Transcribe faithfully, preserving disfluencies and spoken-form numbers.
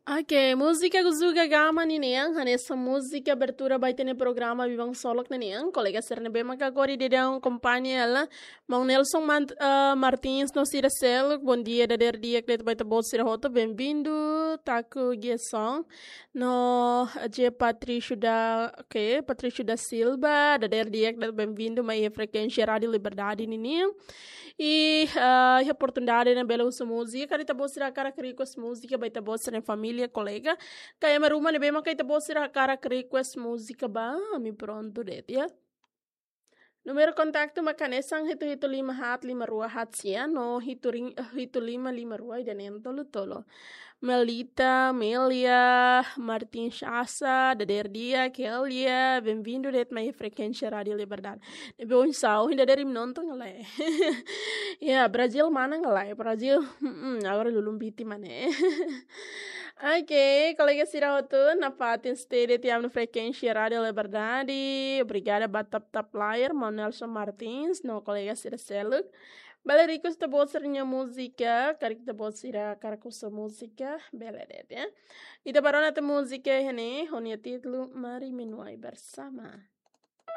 Oke, múzika Guzuga Gama ninian, hanesan múzika abertura ba ita-nia programa Biban Solok ninian. Kolega sira ne'ebé maka agora daudaun akompaña hela, Maun Nelson Mant-, eh, Martins no sira seluk, bom dia, dadeer di'ak de'it ba ita-boot sira hotu, bem-vindo, Taku Gerson, no, J Patrício da, oke, Patrício da Silva, dadeer di'ak de'it, bem-vindo mai frekuénsia Rádio Liberdade ninian. I, ah, iha oportunidade ne'e bele husu múzika, karik ita-boot sira hakarak request múzika ba ita-boot sira-nia família, kolega. Ka ema ruma ne'ebé maka ita-boot sira hakarak request múzika ba, ami prontu de'it, ya. Númeru kontaktu maka hanesan hitu hitu lima haat lima rua haat sia, no hitu ring-, hitu lima lima rua ida neen tolu tolu. Melita, Melia, Martin Shasa, dadeer di'ak, Kelia, bem-vindo de'it mai frekuénsia Rádio Liberdade. Ne'ebé oinsá, ohin dadeer imi nonton ka lae? Ya, Brazil manán ka lae? Brazil, mm, agora lulun biti mane. Oke, kolega sira hotu, nafatin sei de'it iha ami-nia frekuénsia Rádio Liberdade. Obrigada ba tap-tap layar, Maun Nelson Martins, no kolega sira seluk. Bele request ita-boot sira-nia múzika, karik ita-boot sira hakarak husu múzika, bele de'it, ya. Ita bá rona tiha múzika iha ne'e, ho nia títulu Mari Menuai Bersama.